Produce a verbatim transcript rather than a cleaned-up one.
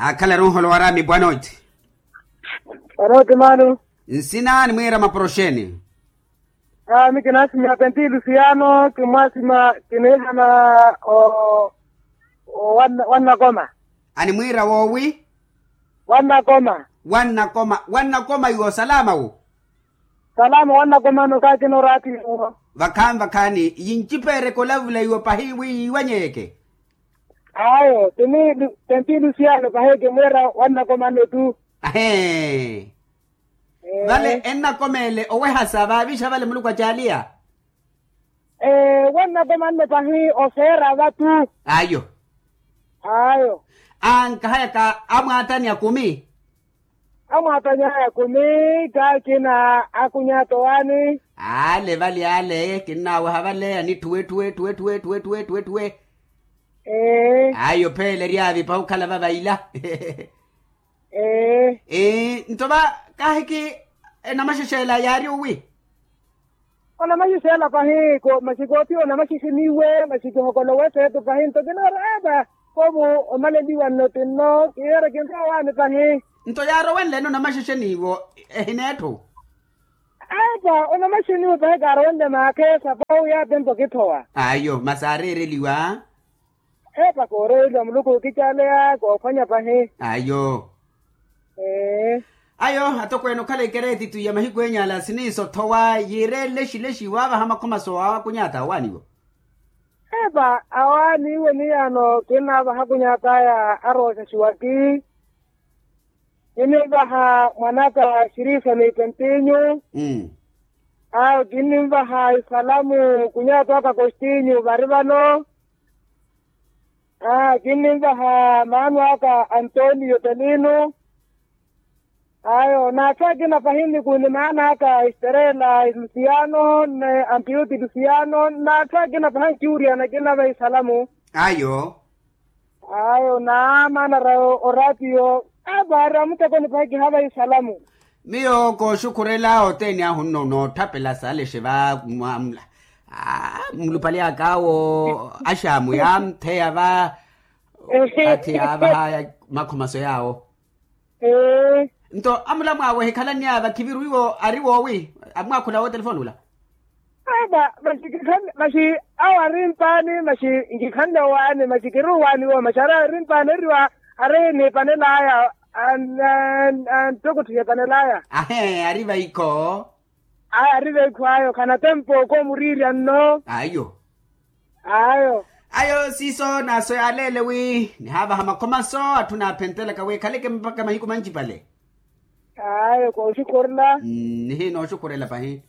Akhala runholo waraami bwanoti. Bwanoti mano. Nsina ni mwiira maporoxeni. Ami kinasima penti lusiano kimwasima kinihana o wannakoma. Ani mwiira woowi? Wannakoma. Wannakoma wannakoma iwo salama wo. Salama wannakoma no kaakina oraati iwo. Vakhaani vakhaani yincipeereke olavula iwo pahi wi yiiwanyeyeke. Ayo tini tenti lusiano pahi kimwiira wannakoma no tu. Ahee. Vale ennakomeele owehasa vaavixa vale muluku acaaliya. Wannakoma nno pahi oseera vatu. Ayo. Ayo. Ankahayaka amwaatani akumi. Amwaatani aya akumi kaakina akunyata owaani. Ale vale ale kinnaweha vale anithuwe thuwe thuwe thuwe thuwe thuwe thuwe thuwe. Ayo pheele eryaavi pahi okhala vavaila. Nto va kahiki enamaxexela yaari owi? Onamaxexela pahi ko maxi kooti onamaxexeniwe maxi kihokolowe seeto pahi nto kinoora epa. Kovu omaleliwa nno tinno kiyeera kinrowa owaani pahi. Nto yaarowenlene onamaxexeniwo ehineetthu? Epa onamaxexeniwe pahi kaarowenle maakheesa pahi wi yaatempo kithowa. Ayo masi aareereliwa. Epa kooreeliwa muluku okicaaleya koophwanya pahi. Ayo. Ayo atokweene okhala ikereetitu ya mahiku enya ala siniiso thowa yiireele lexi lexi waavaha makhomaso awakunyata awaaniwo. Epa awaaniwo niyaano kinnaavaha akunyat'aya arooxaxiwaki. Kinnivaha mwanaka xirisa n'ipentinyu. Ayo kinnivaha isalamu kunyat'aka kostinyu vari vano. Kinnivaha maano aka antonio telino. Ayo n'atthu akina pahi nnikuni maano aka esterela lusiano n'ampiyuti lusiano n'atthu akina pahi ankiwuriyana kinnavaha isalamu. Ayo. Ayo naamaanara oraatiyo. Epa ari amutekoni pahi kihavaha isalamu. Miyo kooxukhurela othene ahu nno nootthapela saalexe va. Mulupale akaawo axaamu yaamtheya va. Athi yaavaha makhomaso yaawo. Nto amulamwaawe ehikhalani aya vakhiviru iwo ari woowi? Amwaakhula wo telefoni ula. Aba maxi kikhanle maxi awo ari mpaani maxi nkikhanle owaani maxi kiri owaani wo maxi ari ari mpaani eriwa ari niipanel'aya. Antokotthiha epanel'aya. Ahe ari vaikho. Aya ari vaikho ayo khana tempo koomuriirya nno. Ayo. Ayo. Ayo siiso naaso yaaleele wi nihaavaha makhomaso atthu naaphentelaka wi ekhaleke mpakha mahiku mancipale. Ayo kooxukhurela. Nihiina oxukhurela pahi.